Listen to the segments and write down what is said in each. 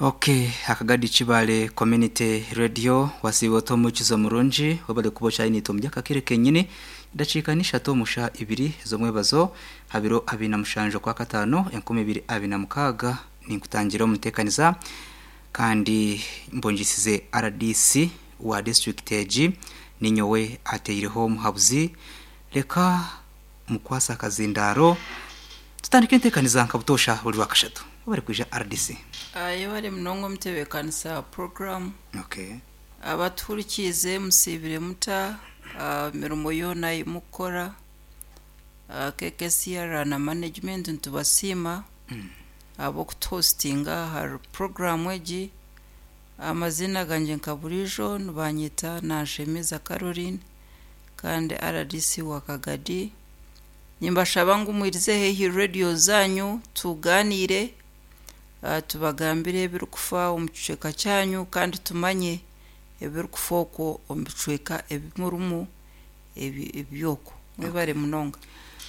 Ok Akagadi Kibale Community Radio wasiiba ota omukizo murungi webale kuba okyari naitwe omuri aka kaire kenyini edakiika n'ishatu omu shaaha ibiri z'omwebazo aha biro abiri na mushanju okwakataano 2026 ninkutangira omu nteekaniza kandi mbungiisize rdc wa disiturikiti egi ninyowe ateireho omuhabuzi reka mukwase akazindaaro Tutandike enteekaniza nka butoosha buri Rwakashatu. Webare kwija RDC. Yebare munonga omutebeekanisa wa puroguraamu. Okay. Abatuhurikiize musiibire muta emirimo yoona ei murikukora? KKCR na management nitubasiima ahabw'okutuhositinga ahari puroguraamu egi. Amaziina gangye nka buriijo nibanyeta Nanshemeza Caroline kandi RDC wa Kagadi. Nimbashaba ngu mwirize haihi rediyo zaanyu tugaaniire, tubagambire ebirikufa omu kicweka kyanyu kandi tumanye ebirikufa okwo omu bicweka ebi murimu eby'okwo. Mwebare munonga.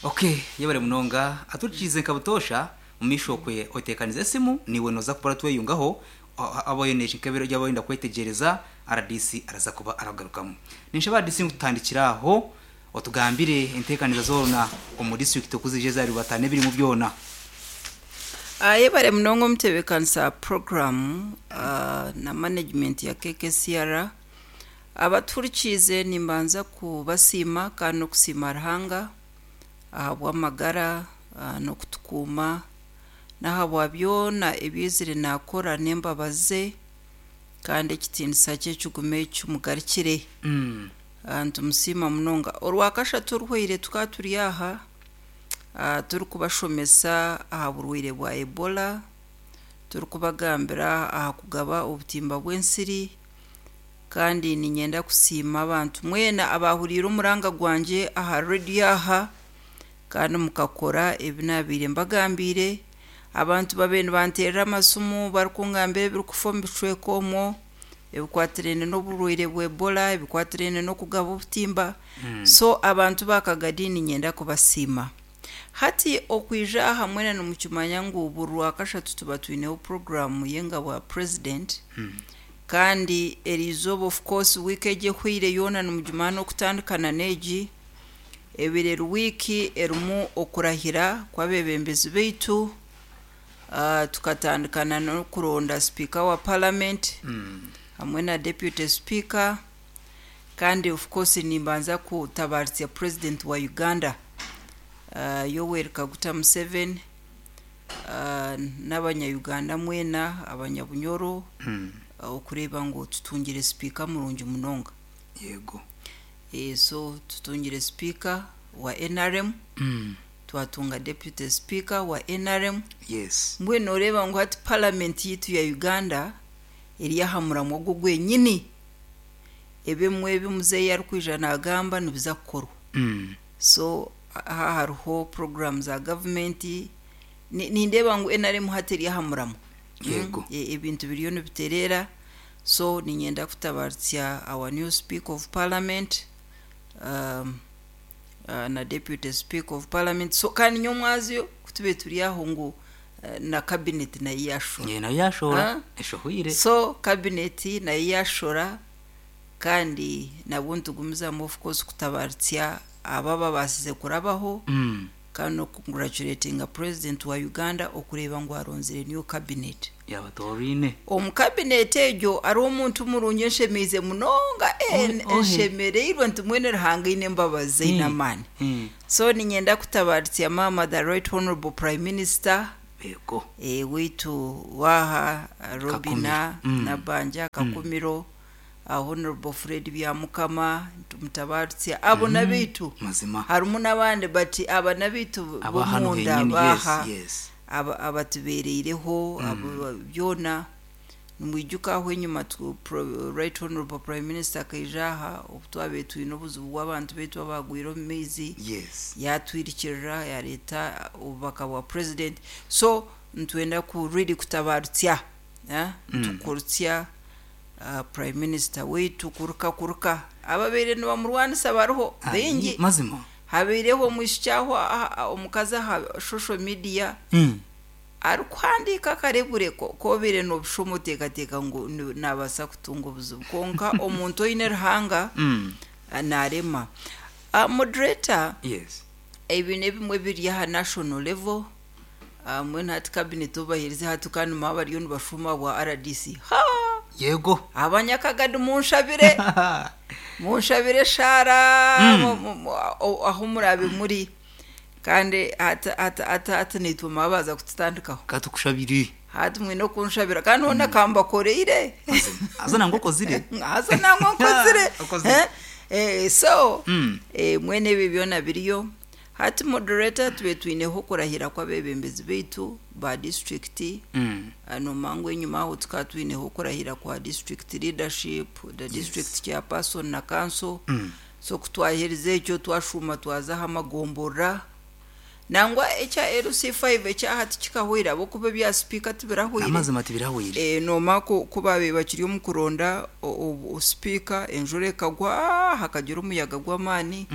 Ok yebare munonga aturikiize nka butoosha omumaisho okwe oteekanize esimu naiwe nooza kuba oratweyungaho waaba oine nk'ebiro ebi orenda kwetegyereza rdc araza kuba arakugarukamu. Ninshaba rdc ngu tutandikire aho Otugambire enteekaniza zoona omu disiturikiti oku zije zaribatana n'ebirimu byona. Yebare munonga omutebeekanisa wa puroguraamu na management ya KKCR. Abatuhurikiize nimbanza kubasiima kandi n'okusiima Ruhanga ahabw'amagara n'okutukuuma n'ahabwa byona ebi aizire naakora n'embabazi ze kandi ekitiinisa kye kigume kimugarukire. Nitumusiima munonga. Orwakashatu oruhweire tukaba turi aha turikubashomesa aha burwaire bwa Ebola, turikubagambira aha kugaba obutimba bw'ensiri kandi niinyenda kusiima abantu mwena abaahuriire omuranga gwangye aha rediyo aha kandi mukakora ebi naabaire mbagambiire. Abantu babaire nibanteerera amasimu barikungambira ebirikufa omu bicweka omwo. ebikwatiraine n'oburwaire bwa Ebola, ebikwatiraine n'okugaba obutimba. So abantu ba Kagadi niinyenda kubasiima. Hati okwija aha mwena nimukimanya ngu buri Rwakashatu tuba twineho puroguraamu y'engabo ya Purezidenti kandi eriizooba of course wiiki egi ehweire yoona nimugimanya n'okutandika na n'egi, ebaire eri wiiki erimu okurahira kw'abeebembezi baitu. Tukatandika na n'okuronda sipiika wa paramenti hamwe na deputy sipiika kandi of course nimbanza kutabaaritsya purezidenti wa Uganda Yoweri Kaguta Museveni n'abanya Uganda mwena abanyabunyoro okureeba ngu tutungire sipiika murungi munonga. Yego. So tutungire sipiika wa nrm. Twatunga Deputy Speaker wa nrm. Yes. Mbwenu noreeba ngu hati Parliament yaitu ya Uganda eri aha muramwa ogwo gwenyini. Ebimwe ebi muzeeyi arikwija nagamba nibiza kukorwa. So aha hariho program za government, nindeeba ngu nrm hati eri aha muramwa. Yego. Ebintu biriyo nibitereera, so niinyenda kutabarutsya our new Speaker of Parliament, na Deputy Speaker of Parliament so kandi nyomwazyo ku tube turi aho ngu na cabinet nayo yashora. Ye nayo yashora Ah? eshohwire. So cabinet nayo yashora kandi nabwo nitugumizamu of course kutabarutsya abo ababaasize kurabaho kandi n'oku congratulatinga President wa Uganda okureeba ngu aronzire new cabinet. Yaabatoraine. Omu cabinet egyo hariho omuntu murungi enshemeize munonga Ohe, ohe. enshemereirwe nti mbwenu Ruhanga aine embabazi ze aine amaani. So niinyenda kutabarutsya maama the right honourable Prime Minister Yego. waitu waaha Robina Kakumiro. Nabbanja Kakumiro, Honourable Fred Byamukama nitumutabarutsya abo n'abaitu. Mazima. Harimu n'abandi but aba n'abaitu Aba hanu b'omunda henyini, yes, baaha yes. aba abatubeereireho abo byona nimwijuka aho enyima tu pro right honourable prime minister akaija aha obu twabaire twine obuzibu bw'abantu baitu abaagwire omu maizi Yes. yaatwirukirira yaareeta obubaka bwa president so nitwenda ku really kutabarutsya eh, nitukurutsya Prime Minister waitu kuruka kuruka ababaire nibamurwanisa bariho baingi. Mazima. Habaireho omwishiki aho omukazi aha social media. Arikuhandiika akarebure kobaire nobushoma oteekateeka ngu nabaasa kutunga obuzibu kwonka omuntu oine Ruhanga narema. Moderator, Yes. ebi n'ebimwe ebiri aha national level, mbwenu hati cabinet obu baherize hati kandi nimwo bariyo nibashuuma ahabwa RDC. Haa! Yego. Abanyakagadi munshabire, munshabire eshaara ahu muraabe muri kandi hati hati hati hati naitwe mwabaza kututandikaho. Katukushabire. Hati mwine okunshabira kandi hoona kambakoreire. Haza nangwa okozire. Haza nangwa nkozire. Okozire. Eh, so mwene ebi byona biriyo. Hati moderator tube twineho okurahira kw'abebembezi baitu ba district. Nomanya ngu enyima aho tukaba twineho okurahira kwa district leadership, the district chairperson na council. So ku twaherize ekyo twashuuma twaza aha magomborora. Nangwa ekya LC5 ekya hati kikahweire ahabw'okuba ebya sipiika tibirahweire. Amazima tibirahweire. Noomanya ku baabaire bakiri omu kuronda sipiika enjura ekagwa hakagira omuyaga gw'amaani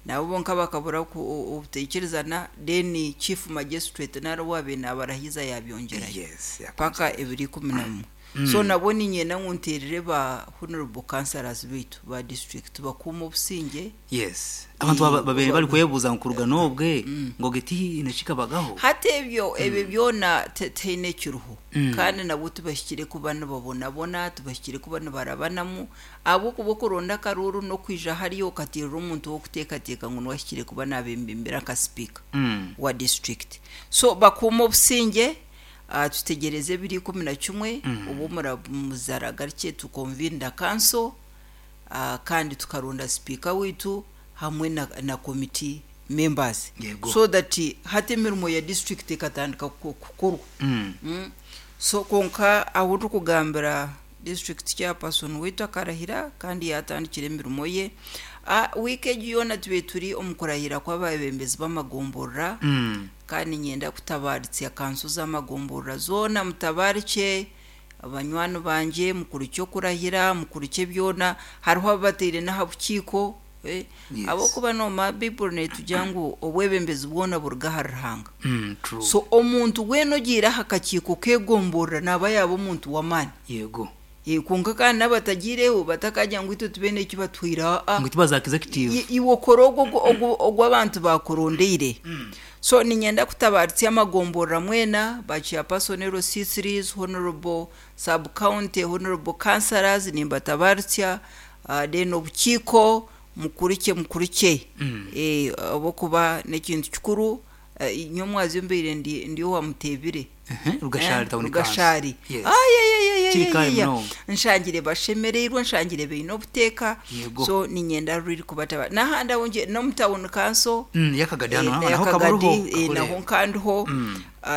nabo bonka bakabura obutaikirizana then chief magistrate nari owaabaire naabarahiza yaabyongyerayo paka ebiro 11. So nabwo niinyenda ngu nteerere ba honourable councillors baitu ba district bakuume obusingye. Yes. Abantu babaire barikwebuuza ngu kuruga n'obwe ngu ogwo tihaine ekikabagaho. Hati ebyo ebyo byona tihaine ekiriho kandi nabwo tibahikire kuba nibabonabona, tibahikire kuba nibarabanamu ahabw'okuba okuronda akaruuru n'okwija hariya okateerera omuntu ow'okuteekateeka ngu niwe ahikire kuba naabembembera nka sipiika wa district. So bakuume obusingye. Tutegyereze ebiro 11 obu omuramuzi aragarukye tu convene the council kandi tukaronda sipiika waitu hamwe na committee members so that hati emirimo ya district ekatandika kukorwa. So kwonka ahu ndikugambira district chairperson waitu akarahira kandi yaatandikira emirimo ye. Wiiki egi yoona tubaire turi omu kurahira kw'abeebembezi b'amagomborora kandi niinyenda kutabaaritsya kanso z'amagomborora zoona mutabaarikye banywani bangye mukurukye okurahira mukurukye byona. Hariho abu bataire n'aha bukiiko ahabw'okuba noomanya Baiburi neetugira ngu obwebembezi bwona buruga ahari Ruhanga. So omuntu weena ogiire aha kakiiko k'egomborora naaba yaaba omuntu w'amaani. Yego. Kwonka kandi n'abatagiireho batakagira ngu itwe tibaine eki batuhaire aa. Ngu tibaza executive. Iwe okore ogwo ogu abantu baakurondeire. So niinyenda kutabaaritsya amagomborora mwena, ba chairperson LC3s, honourable sub county, honourable councillors nimbatabaaritsya, then obukiiko mukurukye mukurukye ahabw'okuba n'ekintu kikuru. Nyowe omwazyo mbaire ndi owa Muteebire. Rugashari town council. Rugashari. Yes. Ayayayayaya. Kiri muno. Nshangire bashemereirwe, nshangire baine obuteeka. Yego. So niinyenda ruri kubataba. N'ahandi ahu ngiye n'omu town council. Yakagadi hano naho Yakagadi, kabaruho. Naho nkandiho.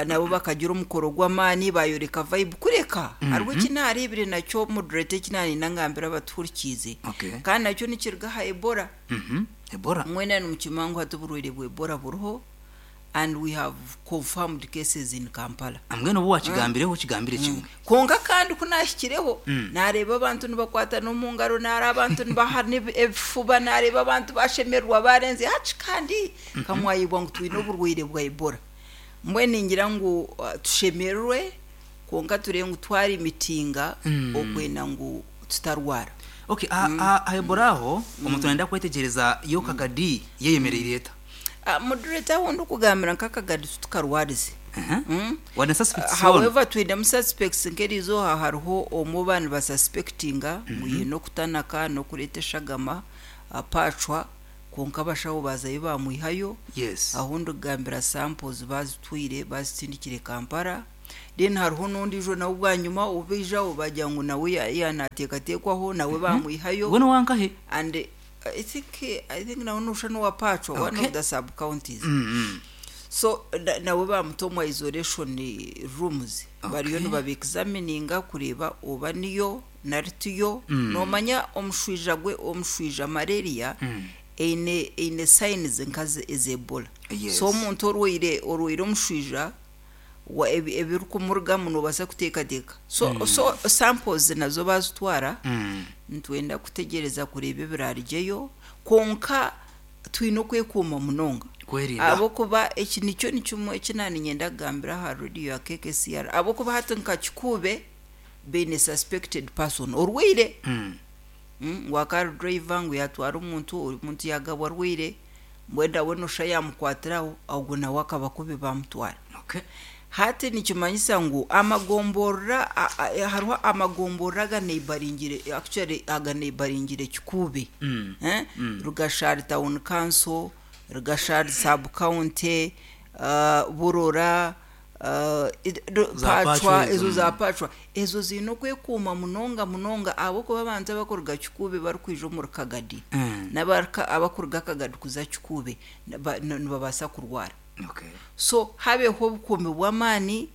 Nabo bakagira omukoro gw'amaani bayoreka vibe kureka hariho eki naareebire nakyo moderator eki naarenda ngambire abatuhurikiize. Kandi nakyo nikiruga aha Ebola. Ebola. Mwena nimukimanya ngu hati oburwaire bwa Ebola buriho and we have confirmed cases in Kampala. Mbwenu obu wakigambireho okigambire kimwe. Kwonka kandi ku naahikireho naareeba abantu nibakwatana omu ngaro, naareeba abantu nibahana ebifuba, naareeba abantu bashemererwa barenze hati kandi kamwayebwa ngu twine oburwaire bwa Ebola. Mbwenu ningira ngu tushemererwe kwonka tureebe ngu twarimitinga okwenda ngu tutarwara. Okay, aha Ebola aho omuntu nayenda kwetegyereza yo Kagadi yeyemereire eta? Moderator ahu ndikugambira nka Kagadi titukarwarize. Wane suspects zoona? However twinemu suspects nk'erizooba hariho omwe ou baanibasuspectinga ngu aine okutanaka n'okureeta eshagama pacwa kwonka abashaho baazayo baamwihayo. Ahu ndikugambira samples baazitwire baazitsindikire Kampala. Then hariho n'ondiijo nawe bwanyima ou baijaho baagira ngu nawe yaanaateekateekwaho nawe baamwihayo. Ogwo n'owankahe? And I think nawe nooshusha n'owa Pacwa, one of the sub counties. So nawe baamuta omu isolation rooms bariyo nibaba examininga kureeba oba niyo nari tiyo. Noomanya omushwija gwe omushwija malaria eine signs nka ez'Ebola. So omuntu orwaire omushwija ebirikumurugamu noobaasa kuteekateeka. So samples nazo baazitwara, nitwenda kutegyereza kureeba ebiraarugyeyo kwonka twine okwekuuma munonga. Okwerinda. Ahabw'okuba eki nikyo nikimwe eki naaniinyenda kugambira aha rediyo ya KKCR. Ahabw'okuba hati nka Kikuube baine suspected person orwaire. Mm. Ngu akaba ari driver ngu yaatwara omuntu, omuntu yaagabwa arwaire, mbwenu nawe noshusha yaamukwatira aho, ogwo nawe akaba kubi baamutwara. Okay. Hati nikimanyisa ngu amagomborora hariho amagomborora aganeibaringire actually aganeibaringire Kikuube. Mm. Eh? Mm. Rugashari Town Council, Rugashari Sub County, Burora, Za Pachwa Pachwa, ezo, ezo za mm. Pachwa. Ezo ziine okwekuuma munonga munonga ahabw'okuba abantu abakuruga Kikuube barikwija omuri Kagadi Mm. n'abarika abakuruga Kagadi kuza Kikuube nibabaasa kurwara. Okay. So habeho obukuumi bw'amaani,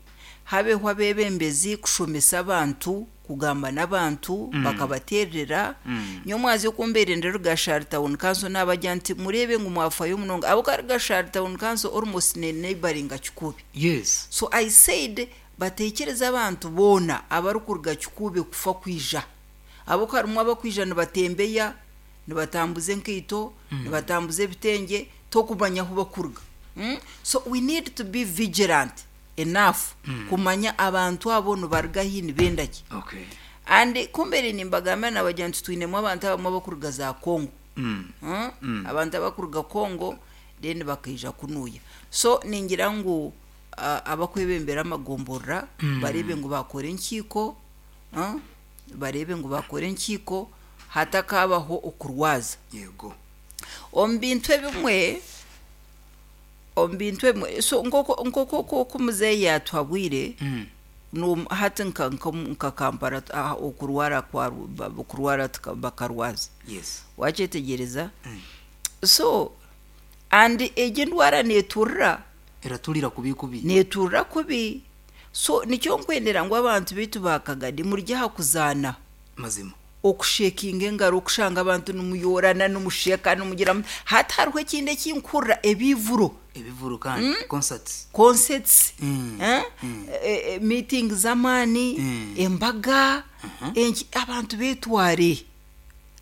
habeho abeebembezi kushomesa abantu, kugamba n'abantu bakabateerera. Mm. Nyowe omwazyo ku mbaire ndi Rugashari Town Council naabagira nti mureebe ngu mwafayo munonga ahabw'okuba Rugashari Town Council almost ne neighbouringa Kikuube. Yes. So I said bateekyereze abantu boona abarikuruga Kikuube kufa kwija ahabw'okuba harimu abakwija nibatembeya, nibatambuza enkaito, nibatambuza ebitengye tokumanya ahu bakuruga. So we need to be vigilant enough kumanya abantu abo nibaruga hi nibenda ki. Okay. And ku mbaire nimbagambira nabagira nti twinemu abantu abamwe abakuruga za Congo. Mm. Mm? Abantu abakuruga Congo then bakaija kunuya. So ningira ngu abakwebembera amagomborora bareebe ngu bakora enkiiko, bareebe ngu bakora enkiiko hatakabaho okurwaza. Yego. Omu bintu ebimwe omu bintu ebimwe so nk'oku nk'oku oku muzeeyi yaatuhabwire Mm. no hati nka nka nka Kampala okurwara kwa okurwara bakarwaza. Yes. Wakyetegyereza? Mm. So and egi endwara neeturira Eraturira kubi kubi. Neeturira kubi. So nikyo nkwendera ngu abantu baitu ba Kagadi murye aha kuzaana. Mazima. Okushekinga engaro, okushanga abantu nimuyoorana, nimusheka, nimugira muti. Hati hariho ekindi eki nkuhurira, ebivuro. Ebivuro kandi concerts. Concerts, Mm. eh? Mm. Meetings z'amaani, Mm. embaga, enki, abantu beetware.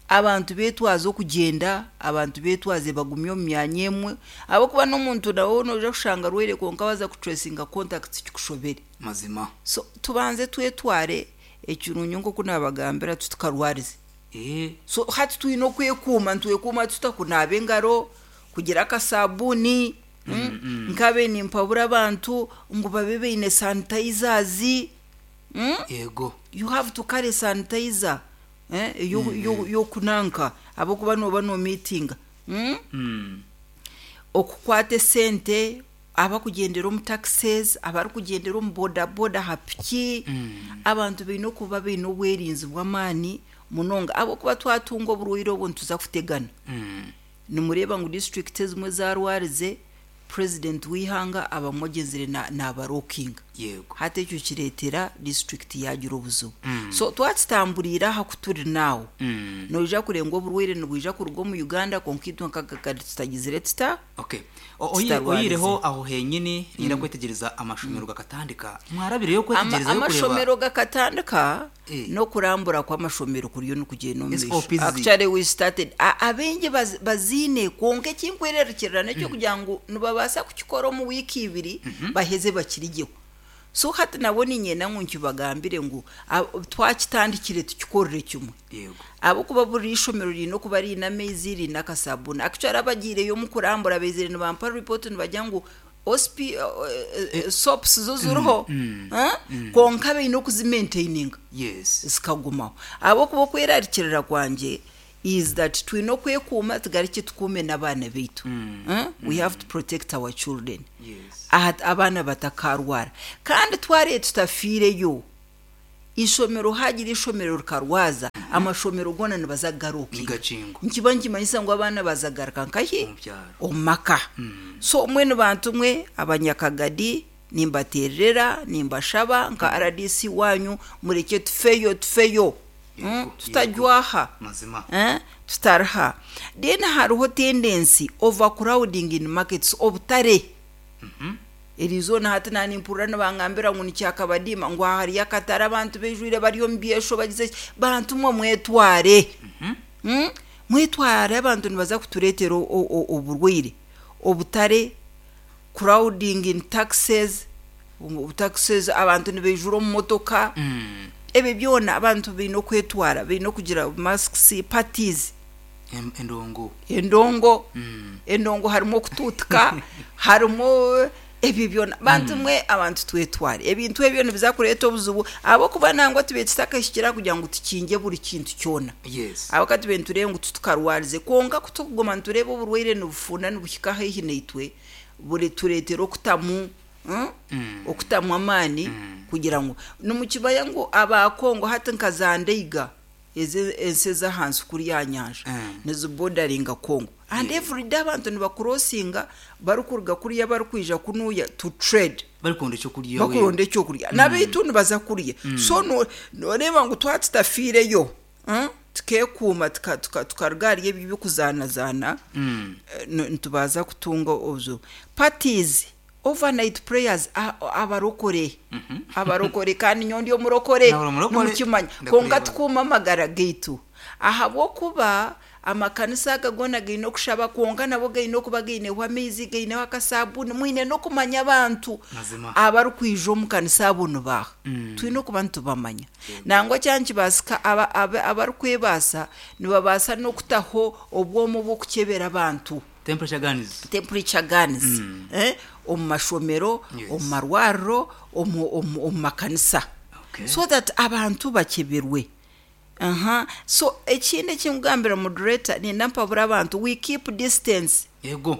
Abantu beetwaze okugyenda, abantu beetwaze bagumye omu myanya emwe, ahabw'okuba n'omuntu nawe noija kushanga arwaire kwonka waaza kutureesinga contacts kikushobere. Mazima. So tubanze twetware, ekirungi nk'oku naabagambira titukarwarize. Eh. So hati twine okwekuuma, nitwekuuma tuta? Kunaaba engaro, kugira akasabuuni, nkabe nimpabura abantu ngu babe baine sanitizers. Yego. You have to carry sanitizer eh, y'okunanka ahabw'okuba nooba noomiitinga. Mm. Okukwata esente, abakugyendera omu taxis, abarikugyendera omu bodaboda aha piki, abantu baine okuba baine obwerinzi bw'amaani munonga ahabw'okuba twatunga oburwaire obu nituza kutegana. Mm. Nimureeba ngu disiturikiti ezimwe zaarwarize, purezidenti w'eihanga abamwe agyenzire naabarookinga. Yego. Hati ekyo kireetera disiturikiti yaagira obuzibu. Mm. So twakitamburiire aha ku turi naawo, Mm. noija kureeba ngu oburwaire nibwija kuruga omu Uganda kwonka itwe nk'akagari tutagizire tuta? Okay. Tutarwarize. Oyireho aho henyini ninyenda kwetegyereza amashomero gakatandika. Mwarabireyo kwetegereza yo kureba. Amashomero gakatandika Eh. n'okurambura kw'amashomero kuriyo nikugyenda omu maisho. SOPs. Actually we started abaingi baziine kwonka ekinkwererukirira n'eky'okugira ngu nibabaasa kukikora omu wiiki ibiri baheze bakirigyeho. So hati nabwo niinyenda ngu nkibagambire ngu twakitandikire tukikorere kimwe. Yego. Ahabw'okuba buri ishomero riine okuba riine amaizi, riine akasabuuni. Actually abagiireyo omu kurambura baizire nibampa report nibagira ngu OSP soaps zo ziriho kwonka baine okuzimaintaininga Yes. zikagumaho. Ahabw'okuba okwerarikirira kwangye is that twine okwekuuma tugarukye tukuume n'abaana baitu. We have to protect our children. Yes. Abaana batakarwara. Kandi twareba tutafiireyo, ishomero hagira ishomero rikarwaza, amashomero goona nibaza kugarukinga. Nigakingwa. Nikiba nikimanyisa ngu abaana baza kugaruka nkahi? Omu byaro. Omu maka. So mbwenu bantu mwe abanyakagadi nimbateererera, nimbashaba nka rdc waanyu murekye tufeyo tufeyo. Yego, Tutajwaha. Mazima. Tutariha. Then hariho tendency overcrowding in markets, obutare. Eriizooba hati naanimpurira nibangambira ngu nikyakabadiima ngu aha hariyo akatare abantu baijwire bari omu byesho bagize ki, bantu mwe mwetware. Mwetware abantu nibaza kutureetera oburwaire. Obutare, crowding in taxes, taxes abantu nibaijura omu motoka, ebyo byona abantu baine okwetwara, baine okugira masks, parties. Endongo. Endongo, endongo harimu okutuutika, harimu ebyo byona. Bantu mwe abantu twetware. Ebintu ebyo nibiza kureeta obuzibu ahabw'okuba nangwa tubaire tutakahikire aha kugira ngu tukingye buri kintu kyona. Yes. Ahabw'okuba tubaire nitureeba ngu titukarwarize. Kwonka ku turikuguma nitureeba oburwaire nibufunda nibuhika haihi naitwe, buritureetera okutamu okutamu amaani kugira ngu nimukimanya ngu aba Congo hati nka za Ndeiga ezi ensi ez'ahansi kuriya aha nyanja nizibodaringa Congo and everyday abantu nibakurosinga barikuruga kuriya barikwija kunuya to trade Barikuronda ekyokurya bakuronda ekyokurya nabaitu nibaza kuriya so noreeba ngu twaba tutafiireyo Tukeekuuma tukaruga ahari ebyo eby'okuzaanazaana, nitubaasa kutunga obuzibu. Parties, overnight prayers, abarokore, abarokore kandi nyowe ndi omurokore nimukimanya, kwonka tukuume amagara gaitu ahabw'okuba amakanisa aga goona gaine okushaba kwonka nabwo gaine okuba gaineho amaizi, gaineho akasaabuuni, mwine n'okumanya abantu abarikwija omu kanisa abo nibaaha. Twine okuba nitubamanya. Nangwa kyaba nikibaasika abarikwebaasa nibabaasa n'okutaho obwoma obw'okukyebera abantu, Temperature guns. temperature guns, omu mashomero, omu marwariro, omu makanisa so that abantu bakyeberwe. So ekindi eki nkugambira moderator, niinyenda mpabure abantu, we keep distance. Yego.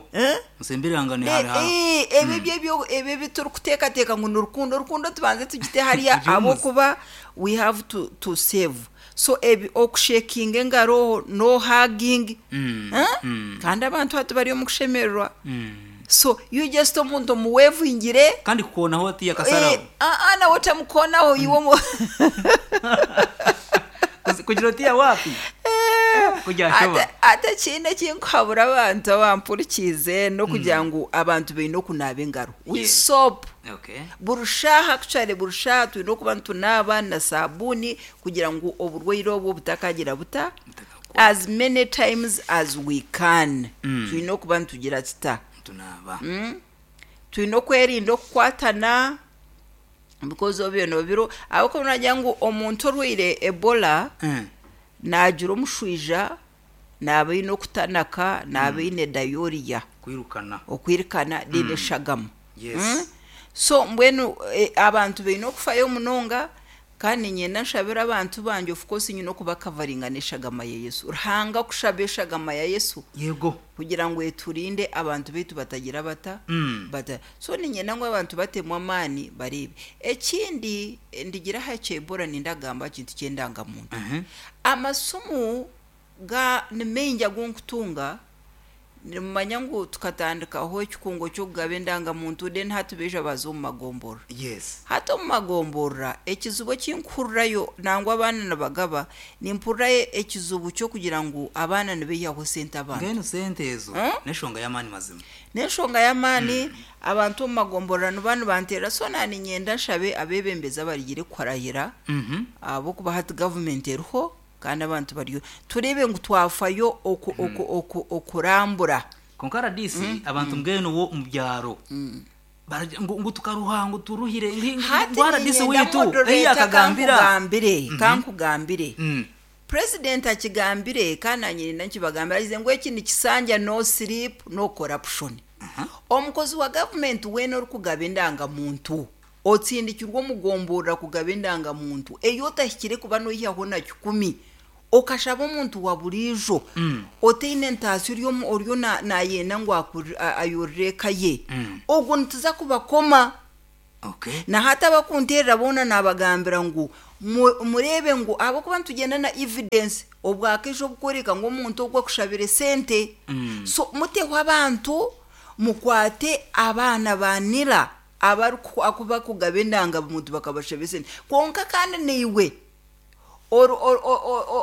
Musembererangane hare hare. Ebyo ebyo ebyo ebi turikuteekateeka ngu ni rukundo, rukundo tubanze tugite hariya ahabw'okuba we have to to save. So ebi okushekinga engaro, no hugging, kandi abantu hati bari omu kushemererwa. So you just omuntu omuwevingire. Kandi kukoonaho oti akasaraho. Aa nawe otamukoonaho iwe omu. Kugira oti wapi? Kugira Ate ekindi eki nkuhabura abantu abampurikiize n'okugira ngu abantu baine okunaaba engaro with soap. Okay. Buri shaaha actually buri shaaha twine okuba nitunaaba na saabuuni kugira ngu oburwaire obwo butakagira buta? As many times as we can twine okuba nitugira kita? Nitunaaba. Twine okwerinda okukwatana because obyo nobiro ahabw'okuba noogira ngu omuntu orwaire Ebola naagira omushwija, naaba aine okutanaka, naaba aine diarrhea, Kwirukana. okwirukana then eshagama. Yes. So mbwenu abantu baine okufayo munonga Kandi niinyenda nshabire abantu bangye of course nyine okubakavaringa n'eshagama ya Yesu. Ruhanga kushaba eshagama ya Yesu Yego. kugira ngu eturinde abantu baitu batagira bata? Bata. So niinyenda ngu abantu batemu amaani bareebe. Ekindi ndigire aha kya Ebola nindagamba aha kintu ky'endangamuntu. Amasimu ga ni maingi agu nkutunga Nimumanya ngu tukatandikaho ekikungo ky'okugaba endangamuntu then hati baija baaza omu magomborora. Yes. Hati omu magomborora ekizibu eki nkuhurirayo nangwa abaana nibagaba, nimpurirayo ekizibu ky'okugira ngu abaana nibaihaho sente abantu. Mbwenu sente ezo n'enshonga y'amaani mazima. N'enshonga y'amaani, abantu omu magomborora niba nibanteerera so na niinyenda nshabe abeebembezi abarigire kukurahira ahabw'okuba hati gavumenti eriho. Kandi abantu bariyo. Tureebe ngu twafayo oku, oku, oku, okurambura. Kwonka rdc abantu mbwenu bo omu byaro baragira ngu ngu tukaruha ngu turuhire ngu ngu Hati ngu rdc niinyenda waitu ei moderator yakagambira. kankugambire, kankugambire. President akigambire kandi naanye niinyenda nkibagambire agize ngu eki nikisanja no sleep no corruption. Omukozi wa gavumenti weena orikugaba endangamuntu Otsindikirwe omu gomborora kugaba endangamuntu ei otahikire kuba noihaho na kikumi, okashaba omuntu wa buriijo otaine ntaasya ori omu oriyo nayenda ngu ayorore eka ye, ogwo nituza kubakoma. Na hati abakunteerera boona naabagambira ngu mureebe ngu ahabw'okuba nitugyenda na evidence obwakaiso obukworeka ngu omuntu ogu akushabire sente, so muteho abantu mukwate abaana ba nira. Abarikuba kugaba endangamuntu bakabashaba esente. Kwonka kandi naiwe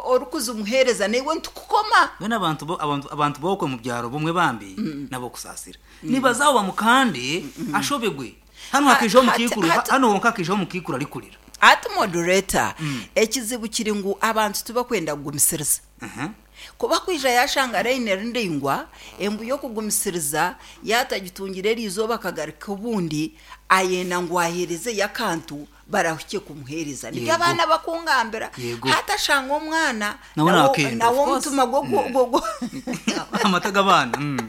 orikuzimuheereza naiwe nitukukoma. Mbwenu abantu bo abantu abantu b'okwe omu byaro bumwe bambi n'ab'okusaasira. Nibaza aho bamukande ashobegwe. Hanu hakaijaho omukaikuru hanu honka hakaijaho omukaikuru arikurira. Hati moderator, ekizibu kiri ngu abantu tibakwenda kugumisiriza. Kuba kwija yashanga layini eri ndaingwa, embu y'okugumisiriza yaatagitungire eri izooba akagaruka obundi, ayenda ngu aheerezeyo akantu barahukye kumuheereza. Nibyo Yego. abaana bakungambira. Yego. Hati ashanga omwana Nawe nawe naakenda, nawe of course. omutima gwo Amata g'abaana.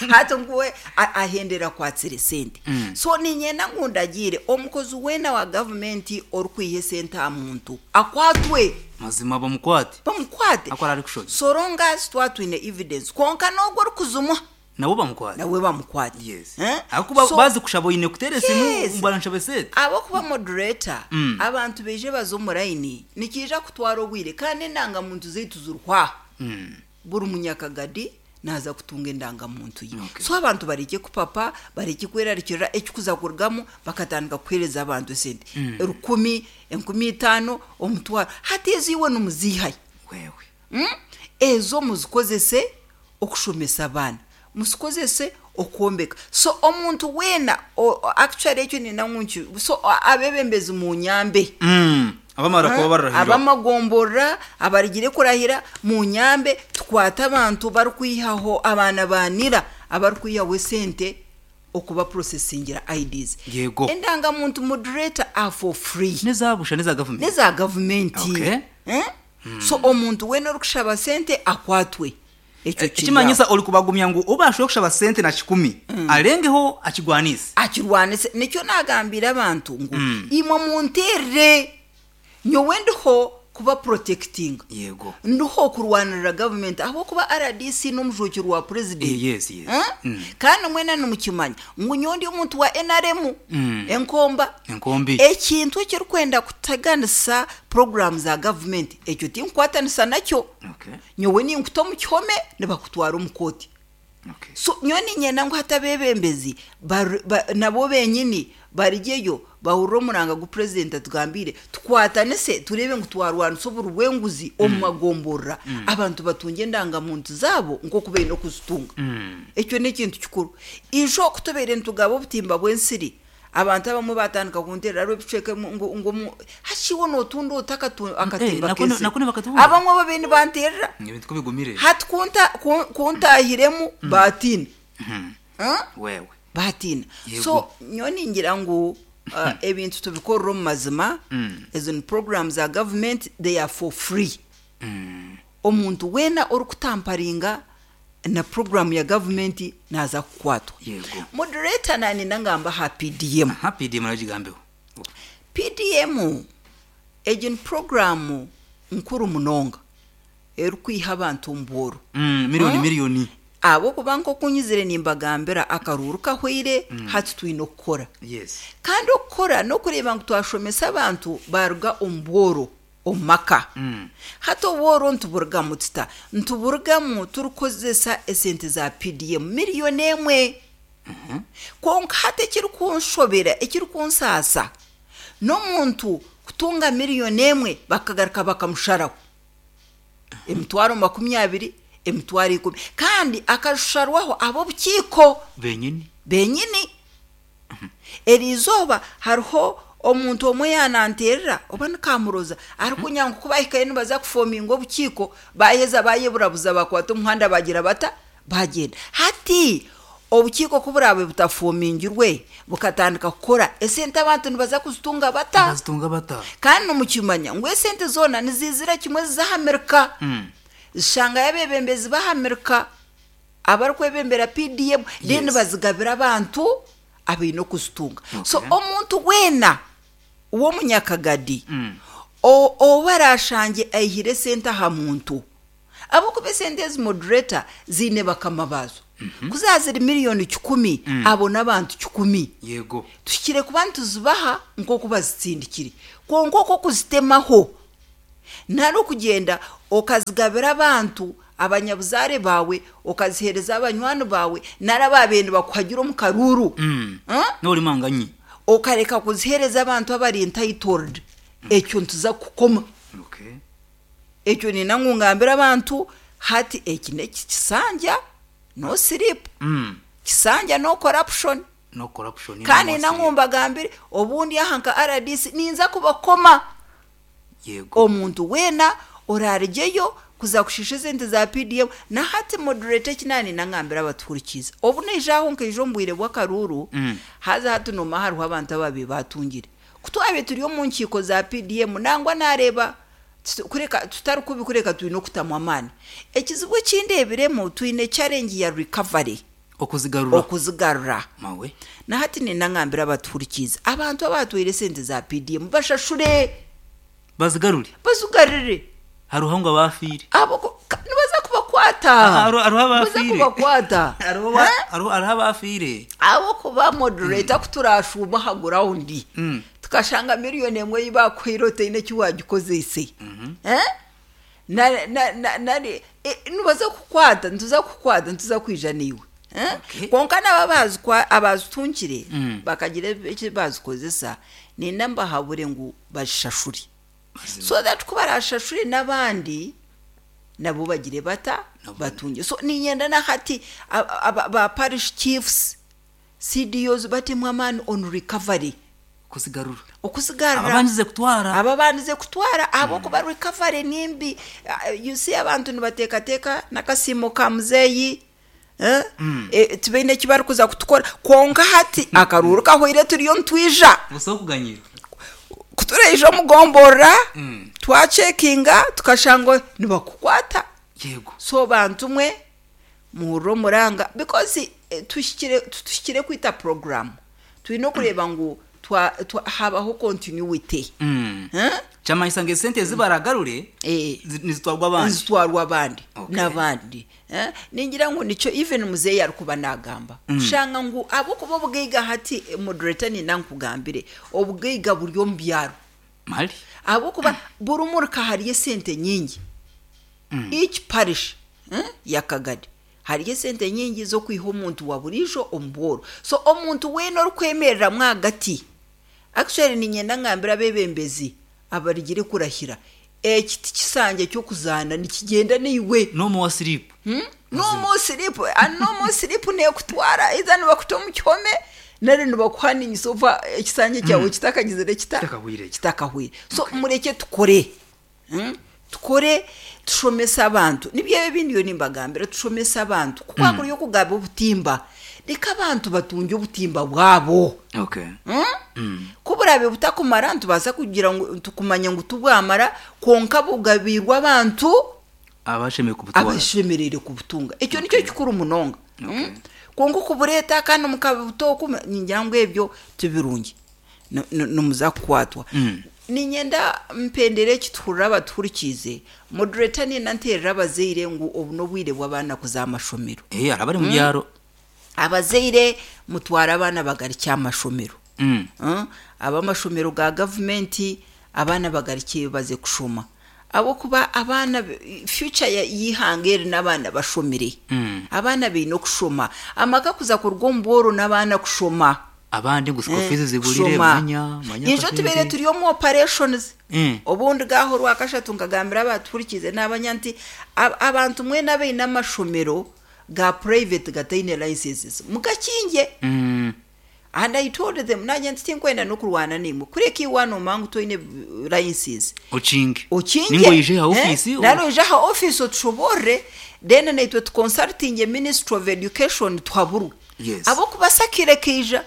Hati nguwe ahendera akwatsire esente. So niinyenda ngu ndagiire omukozi weena wa gavumenti orikwiha esente aha muntu akwatwe. Mazima bamukwate. Bamukwate. Akora arikushobya. So long as twaba twine evidence. Kwonka n'ogwo orikuzimwa Nabo bamukwate. Nawe bamukwate. Yes. Eh? Ahakuba So, bazi kushaba oine kuteera esimu Yes. ngu baranshaba esente. Ahabw'okuba moderator, abantu baije baze omu layini, nikiija kutwara obwire kandi endangamuntu zaitu ziriho aha. Buri munyakagadi naaza kutunga endangamuntu ye. Okay. So abantu barekye kupapa, barekye kwerarikirira ekikuza kurugamu bakatandika kuheereza abantu esente. Erukumi, 5000, omutwaro. Hati ezo iwe nimuziihayo. Wewe. Ezo muzikozese okushomesa abaana, muzikozese okwombeka. So omuntu weena, actually ekyo nina ngu nki, so abeebembezi munyambe. Abamara kuba bararahira. Ab'amagomborora abarigire kurahira munyambe tukwate abantu barikwihaho abaana ba nira abarikwihaho esente okuba processingira IDs. Yego. Endangamuntu moderator are for free. N'eza busha n'eza gavumenti. N'eza gavumenti. Okay. Eh? So omuntu weena orikushaba sente akwatwe. Ekyo kiri Ekimanyisa aho. ori kubagumya ngu oba ashobora kushaba sente na kikumi arengeho akigwanise. Akirwanise. Nikyo nagambira abantu ngu imwe munterere nyowe ndiho kuba protecting. Yego. Ndiho kurwanirira gavumenti ahabw'okuba RDC n'omujwekyerwa wa president. Yes, yes. Eh? Kandi mwena nimukimanya ngu nyowe ndi omuntu wa NRM. Enkomba. Enkombi. Ekintu ekirikwenda kutaganisa program za gavumenti ekyo tinkukwatanisa nakyo. Okay. Nyowe ninkuta omu kihome nibakutwara omu kooti. Okay. So nyowe niinyenda ngu hati abeebembezi nabo benyini barugyeyo bahurire omuranga gu purezidenti atugambiire tukwatanise tureebe ngu twarwanisa oburi bw'enguzi omu magomborora abantu batungye endangamuntu zaabo nk'oku baine okuzitunga. Ekyo n'ekintu kikuru. Ijo ku tubaire nitugaba obutimba bw'ensiri abantu abamwe batandika kunteerera hariho ebicweka ebimwe ngu ngu omu hashi iwe nootunda ota akatimba k'ensiri? Nako nibakatunga. Abamwe babaire nibanteerera. Ebintu ku bigumire. Hati ku ntaahiremu baatiina. Wewe. Baatiina. Yego. So nyowe ningira ngu ebintu tubikorere omu mazima, ezo ni program za gavumenti, they are for free. Omuntu weena orikutamparinga na program ya gavumenti naaza kukwatwa. Yego. Moderator naanenda ngambe aha PDM. Aha PDM nayo gigambeho. PDM egi ni program nkuru munonga erikwiha abantu omu bworo. Miliyoni miliyoni. Ahabw'okuba nk'oku nyizire nimbagambira akaruuru kahweire hati twine okukora. Yes. Kandi okukora n'okureeba ngu twashomesa abantu baaruga omu bworo omu maka. Hati obworo nituburugamu tuta? Nituburugamu turikukozesa esente za PDM miliyoni emwe. Kwonka hati ekirikunshobera, ekirikunsaasa, n'omuntu kutunga miliyoni emwe bakagaruka bakamusharaho 20,000, 10,000 kandi akasharwaho ab'obukiiko Benyini. Benyini. Eri izooba hariho omuntu omwe yaananteerera oba ni Kamuroza arikunya ngu ku bahikayo nibaza kufominga obukiiko baaheza baayeburabuza bakwata omuhanda baagira bata baagyenda. Hati obukiiko ku buraabe butafomingirwe bukatandika kukora esente abantu nibaza kuzitunga bata? Bazitunga bata? Kandi nimukimanya ngu esente zoona niziizira kimwe ziza aha Amerika. Zishangayo abeebembezi b'aha Amerika abarikwebembera PDM then bazigabira abantu abaine okuzitunga. So omuntu weena w'omunyakagadi ou baraashangye aihire esente aha muntu, ahabw'okuba esente ezi moderator ziine bakama baazo. Ku zaaba ziri 100,000,000 abo n'abantu 100. Yego. Tuhikire kuba nituzibaha nk'oku bazitsindikire. Kwonka okwo okuzitemaho nari okugyenda okazigabira abantu abanyabuzaare baawe, okaziheereza abanywani baawe nari abaabaire nibakuhagira omu karuuru. N'ori manganyi. Okareka kuziheereza abantu abari entitled, ekyo nituza kukoma. Okay. Ekyo niinyenda ngu ngambire abantu hati eki n'ekisanja no sleep. Kisanja no corruption. No corruption. Kandi niinyenda ngu mbagambire obundi aha nka RDC ninza kubakoma. Yego. Omuntu weena Oraarugyeyo kuza kushiisha esente za PDM na hati moderator eki naanenda ngambire abatuhurikiize. Obu naija aho nkaija omu bwire bw'akaruuru, haza hati noomanya hariho abantu abaabaire baatungire. Ku twabaire turi omu nkiiko za PDM nangwa naareeba kureka tutari kubi kureka twine okutamu amaani. Ekizibu eki ndeebiremu twine challenge ya recovery. Okuzigarura. Okuzigarura. Mawe. Na hati niinyenda ngambire abatuhurikiize, abantu abaatwaire esente za PDM bashashure. Bazigarure. Bazigarure. Hariho ngu abaafiire. Abo nibaza kubakwata. Hariho Nibaza abaafiire. kubakwata. Hariho Eh? hariho abaafiire. Ahabw'okuba moderator ku turaashuuma aha ground tukashanga miriyoni emwe ei baakuhaire otaine eki waagikozeise. Eh? Na na na nari nibaza kukukwata, nituza kukukwata, nituza kwija naiwe. Eh? Okay. Kwonka nabo abaazitungire bakagira eki baazikozesa, niinyenda mbahabure ngu bazishashure. So that ku baraashashure n'abandi nabo bagire bata? Batungye. So niinyenda na hati ba parish chiefs, CDOs batemu amaani on recovery. Okuzigarura. Okuzigarura. Ababandize kutwara. Ababandize kutwara ahabw'okuba recovery ni mbi. You see abantu nibateekateeka n'akasiimo ka muzeeyi eh? Tibaine eki barikuza kutukora. Kwonka hati akaruuru kahwaire turiyo nitwija. Busaho kuganyira. Ku turaija omu gomborora twacekinga tukashanga nibakukwata. Yego. So bantu mwe muhurire omuranga because tuhikire tutuhikire kwita program. Twine okureeba ngu twa twa habaho continuity. Eh? Kyamanyisa ngu esente ezi baragarure nizitwarwa abandi. Nizitwarwa abandi Okay. n'abandi. Eh? Ningira ngu nikyo even muzeeyi arikuba naagamba. Kushanga ngu ahabw'okuba obugaiga hati moderator niinyenda nkugambire, obugaiga buri omu byaro. Mali. Ahabw'okuba buri muruka hariyo esente nyingi. Each parish eh, ya Kagadi hariyo esente nyingi z'okwiha omuntu wa buriijo omu bworo. So omuntu weena orikwemereramu ahagati, actually niinyenda ngambire abeebembezi abarugire kurahira, eki ti kisanja ky'okuzaana nikigyenda naiwe. No more sleep. No more sleep, and no more sleep neekutwara either nibakuta omu kihome nari nibakuhaninyisa ova ekisanja kyawe kitakagizire kita? Kitakahwire. Kitakahwire. So murekye tukore. Tukore tushomese abantu. Nibyo ebi ebi ndiyo nimbagambira, tushomese abantu. Ku kwakuriyo okugaba obutimba, reka abantu batungye obutimba bwabo. Okay. Ku buraabe butakumara, nitubaasa kugira ngu kumanya ngu tibwamara, kwonka bugabiirwe abantu Abashemereire kubutwara. abashemereire kubutunga. Ekyo nikyo kikuru munonga. Okay. Kwonka okubureeta kandi mukabuta oku, ningira ngu ebyo tibirungi. Nimuza kukwatwa. Niinyenda mpendere eki tuhurire abatuhurikiize. Moderator niinyenda nteerere abazaire ngu obu n'obwire bw'abaana kuza aha mashomero. Hariho abari omu byaro. Abazaire mutware abaana bagarukye aha mashomero. Ab'amashomero ga gavumenti abaana bagarukyeyo baze kushoma. Ahabw'okuba abaana, future y'eihanga eri n'abaana bashomire. Abaana baine okushoma. Amaka kuza kuruga omu bworo n'abaana kushoma. Abandi ngu school fees ziburire Kushoma. manya manya Ijo tubaire akasente. turi omu operations. Obundi gaaho orwakashatu nkagambira abatuhurikiize naabanya nti abantu mwena abaine amashomero ga private gataine licenses mugakingye. And I told them naanye nti tinkwenda n'okurwana naimwe kureka iwe waaba noomanya ngu toine license Okinge. okinge Ninga oije aha office. Nari oije aha office otushoboorore then naitwe tuconsultinge Ministry of Education tuhaburwe. Yes. Ahabw'okuba akaire kaija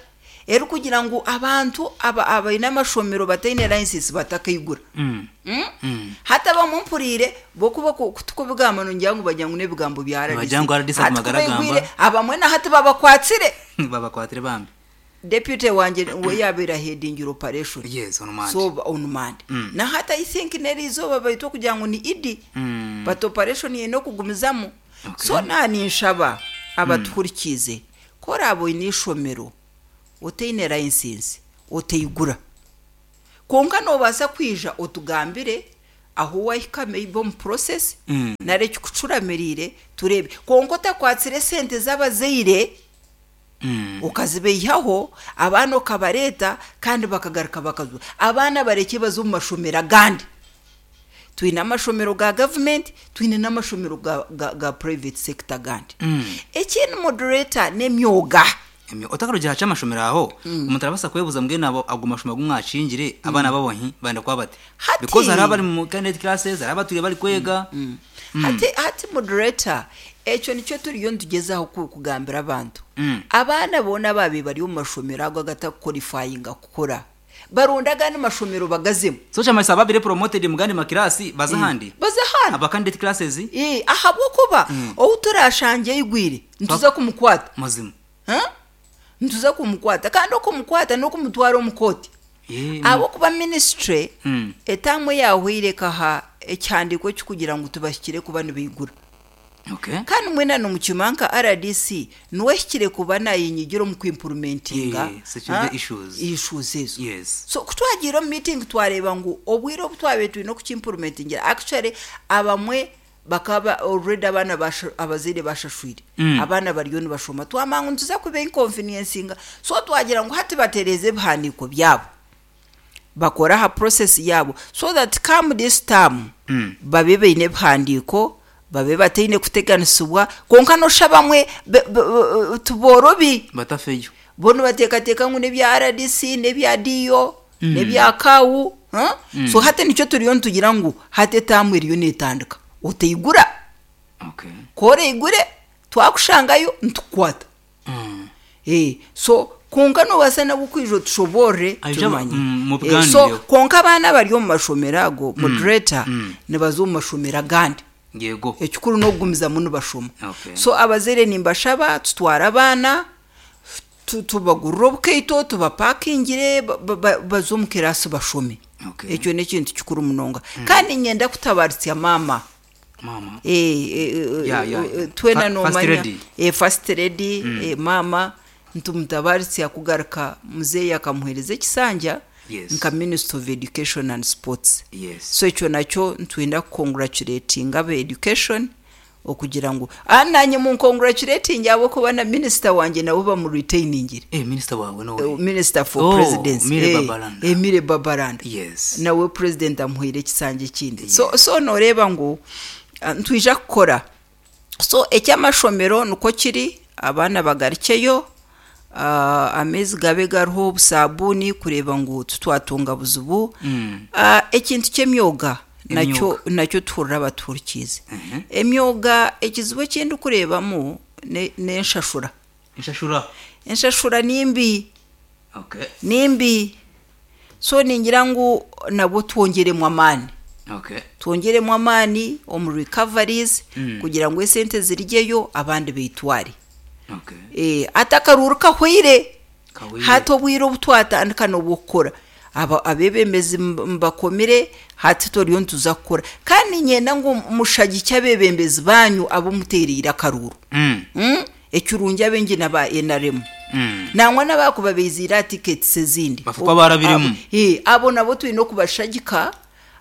erikugira ngu abantu abaine amashomero bataine license batakaigura. Hati abamwe mpuriire bo kuba kutukubigamba nongira ngu bagira ngu n'ebigambo bya RDC. Nibagira ngu RDC Hati aguma kubaigwire aragamba. abamwe na hati babakwatire. Babakwatire bambi. Deputy wangye we yabaire aheadingire operation. Yes, on Monday. So on Monday. Na hati I think n'erizooba baitu okugira ngu ni Idi. But operation eine okugumizamu. Okay. So na ninshaba abatuhurikiize ku oraabe oine eishomero otaine license otaigura. Kwonka noobaasa kwija otugambire ahu waahika maybe omu process nari ekikucuramiriire tureebe. Kwonka otakwatsire esente z'abazaire okazibaihaho, abaana okabareeta kandi bakagaruka bakazwa. Abaana barekye baze omu mashomero agandi. Twine amashomero ga gavumenti, twine n'amashomero ga, ga, ga private sector agandi. Ekindi moderator n'emyoga. Otakarugire aha ky'amashomero aho, omuntu arabaasa kwebuuza mbwenu abo ago mashomero agu mwakingire abaana babo hi barenda kuba bata? Hati Because hariho abari mu candidate classes, hariho abatwire barikwega. Hati hati moderator ekyo nikyo turiyo nitugyezaho kugambira abantu. Abaana boona abaabaire bari omu mashomero ago agatakuqualifyinga kukora, baronde agandi mashomero bagazemu. So kyamanyisa ababire promoted mu gandi makiraasi baze ahandi? Baze ahandi. Aba candidate classes? Ahabw'okuba ou turaashangye aigwire nituza kumukwata. Mazima. Nituza kumukwata kandi okumukwata n'okumutwara omu kooti. Ahabw'okuba minisitule etaamu eyaahweire ekaha ekihandiiko ekirikugira ngu tibahikire kuba nibaigura. Kandi mwena nimukimanya nka rdc niwe ahikire kuba naayenyigira omu kuimpurumentinga issues ezo. So ku twagiire omu miitingi twareeba ngu obwire obu twabaire twine okukimpurumentingira actually abamwe bakaba already abaana abazaire bashashwire abaana bariyo nibashoma twamanya ngu nituza kuba inconveniencing so twagira ngu hati batereeze ebihandiiko byabo bakore aha process yaabo so that come this term babe baine ebihandiiko babe bataine kuteganisibwa kwonka noshusha abamwe tiboorobi Batafeyo. Bo nibateekateeka ngu n'ebya rdc n'ebya DO n'ebya CAU so hati nikyo turiyo nitugira ngu hati etaamu eriyo neetandika otaigura. Ku oraigure twakushangayo nitukukwata. So kwonka noobaasa nabwo kwija otushoboorore tumanye. So kwonka abaana abari omu mashomero ago moderator nibaza omu mashomero agandi. Yego. Ekikuru n'okugumizamu nibashoma. So abazaire nimbashaba tutware abaana tubagurire obukaito tubapakingire baze omu kiraasi bashome. Ekyo n'ekintu kikuru munonga. Kandi niinyenda kutabaaritsya maama. Maama. Twena noomanya first lady maama nitumutabaaritsya kugaruka muzeeyi akamuheereza ekisanja nka minister of education and sports. So ekyo nakyo nitwenda kukonguracuratinga aba education Okugira ngu, Ah, naanye munkonguracuratingye ahabw'okuba na minisita wangye nabo bamuriteiningire. Eh, minisita waawe n'oha? Minister for Oh, Presidency. Milly Eh, Babalanda. eh, Milly Babalanda. Yes. Nawe President amuhaire ekisanja ekindi. So, so nooreeba ngu ah, nitwija kukora. So eky'amashomero nikwo kiri, abaana bagarukyeyo, ah, amaizi gabe gariho, obusaabuuni kureeba ngu titwatunga buzibu. Ah, ekintu ky'emyoga nakyo Emyoga. nakyo tuhurire abatuhurikiize. Emyoga ekizibu eki ndikureebamu ne- n'enshashura. Enshashura. Enshashura ni mbi, Okay. ni mbi. So ningira ngu nabwo twongyeremu amaani. Okay. Twongyeremu amaani omu recoveries kugira ngu esente zirugyeyo abandi beitware. Okay. Eh, hati akaruuru kahweire. Kahweire. Hati obwire obu twatandika n'obw'okukora. Aba abeebembezi mbakomire hati turiyo nituza kukora. Kandi niinyenda ngu mushagikye abeebembezi baanyu abu muteereire akaruuru. Mm. Ekirungi abaingi n'aba nrm. Nangwa n'abaakuba baiziire aha tickets ezindi. Bafe kuba baarabiremu. Abo, eh, abo nabo twine okubashagika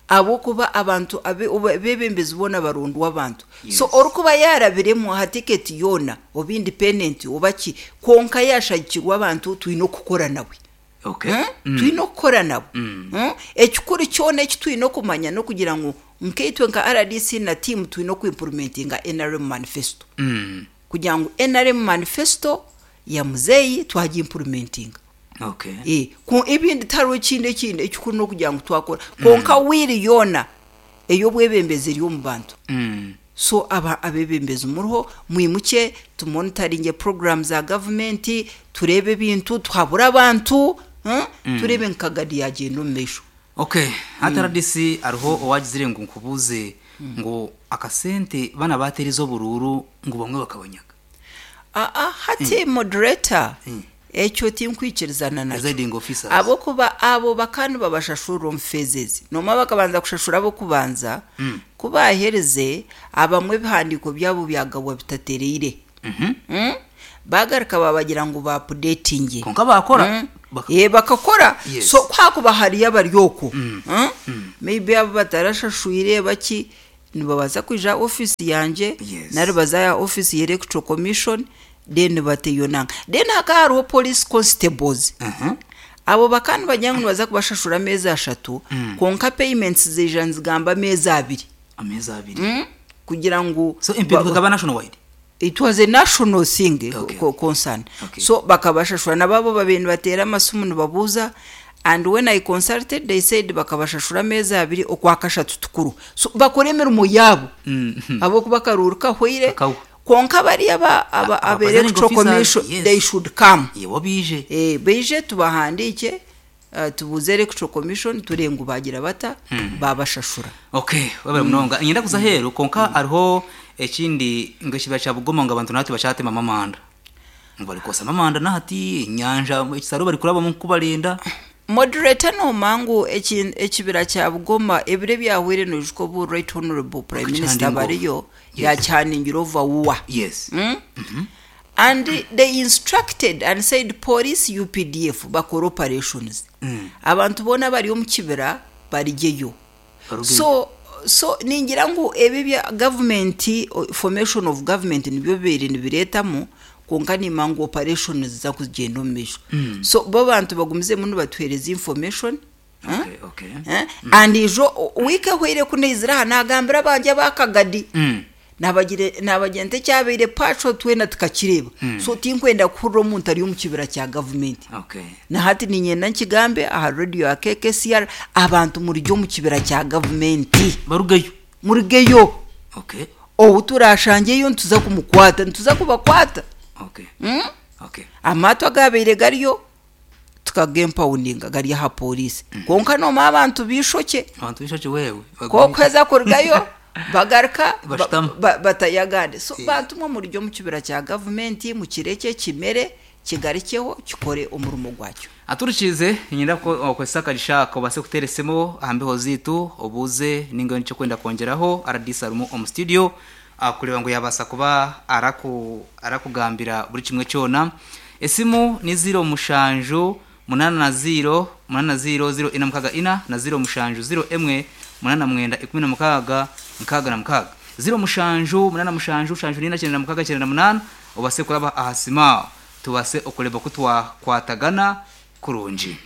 ahabw'okuba abantu abe abeebembezi boona barondwa abantu. So orikuba yaarabiremu aha ticket yoona oba independent oba ki, kwonka yaashagikirwa abantu twine okukora nawe. Okay. Twine okukora nabo. Ekikuru kyona eki twine okumanya n'okugira ngu nkaitwe nka rdc na tiimu twine okuimpurumentinga nrm manifesto. Kugira ngu nrm manifesto ya muzeeyi twagiimpurumentinga. Okay. Eh, ku ebindi tihariho ekindi ekindi ekikuru n'okugira ngu twakora. Kwonka will yoona ey'obwebembezi eri omu bantu. So aba abeebembezi muriho mwimukye tumonitaringye puroguraamu za gavumenti, tureebe ebintu, tuhabure abantu, tureebe ngu Kagadi yaagyenda omu maisho. Ok, hati rdc hariho owagizire ngu nkubuuze ngu akasente banu abateerize oburuuru ngu bamwe bakabanyaga. Aa hati moderator ekyo tinkwikirizana nakyo Presiding officers. ahabw'okuba abo bakaba nibabashashurira omu phases. Noomanya bakabanza kushashura ab'okubanza, ku baaherize abamwe ebihandiiko byabo byagabwa bitatereire. Baagaruka baabagira ngu baapudeetingye. Kwonka baakora. Baka- Eh, bakakora. Yes. So ku haakuba hariyo abari okwo, maybe abu batarashashwire baki, nibabaasa kwija aha ofiisi yangye Yes. nari baze aha ofiisi ya Electoral Commission then bateyo nanka. Then hakaba hariho police constables. Abo bakaba nibagira ngu nibaza kubashashura ameezi ashatu kwonka payments zaija nizigamba ameezi abiri. Ameezi abiri. Kugira ngu So empinduka ekaba national wide? It was a national thing Okay. concern. Okay. So bakabashashura nababo babaire nibateera amasimu nibabuuza and when I consulted they said bakabashashura ameezi abiri okwakashatu tukuru. So bakore emirimo yaabo ahabw'okuba akaruuru kahweire Kakahwa. kwonka bariya aba aba Aba aba presiding electoral officers, commission yes. they should come. Yebo bije. Eh, baije tubahandiike tubuuze electoral commission turebe ngu baagira bata baabashashura. Okay, wabere munonga. Nyenda kuza heru konka hariho ekindi ngu ekibira kya Bugoma ngu abantu nahati bakyatemamu amanda. Ngu barikwosamu amanda nahati enyanja ekisaro barikurabamu nkubarenda. Moderator nooma ngu ekibira kya Bugoma ebiro ebyahweire noijuka obu Right Honourable Prime Minister bariyo yakihaningire over war. Yes. And they instructed and said police UPDF bakore operations. Abantu boona abari omu kibira barugyeyo. Barugeyo. So so ningira ngu ebi ebya government formation of government nibyo bibaire nibireetamu kwonka nimanya ngu operation niziza kugyenda omu maisho. So bo abantu bagumizemu nibatuheereza information. Okay, okay. Eh? And ijo wiiki ehweire ku naizire aha naagambira abangye aba Kagadi. Nabagire nabagira nti ekyabaire pacho twena tukakireeba. So tinkwenda kuhurira omuntu ari omu kibira kya gavumenti. Okay. Na hati niinyenda nkigambe aha radio ya KKCR abantu murugye omu kibira kya gavumenti. Barugeyo. Murugeyo. Okay. Ou turaashangyeyo nituza kumukwata, nituza kubakwata. Okay. Okay. Amaato agaabaire gariyo tukagempawundinga gari aha pooriisi. Kwonka noomanya abantu b'eishokye. Abantu b'eishokye wewe. Ku orikuheza kurugayo bagaruka Bashutama. batayagande. So bantu mwe murugye omu kibira kya gavumenti mukirekye kimere kigarukyeho kikore omurimo gwakyo. Aturikiize niinyenda okozese akagisha aka obaase kuteera esimu aha mbeho zaitu obuuze ninga oine eki orikwenda kwongyeraho RDC arimu omu studio kureeba ngu yaabaasa kuba arakugambira buri kimwe kyona. Esimu ni ziiro mushanju munaana na ziiro munaana ziiro ziiro ina mukaaga ina na ziiro mushanju ziiro emwe munaana mwenda 16 66. Ziiro mushanju munaana mushanju shanju nina 96 98 obaase kuraba aha simu aho tubaase okureeba oku twakwatagana kurungi.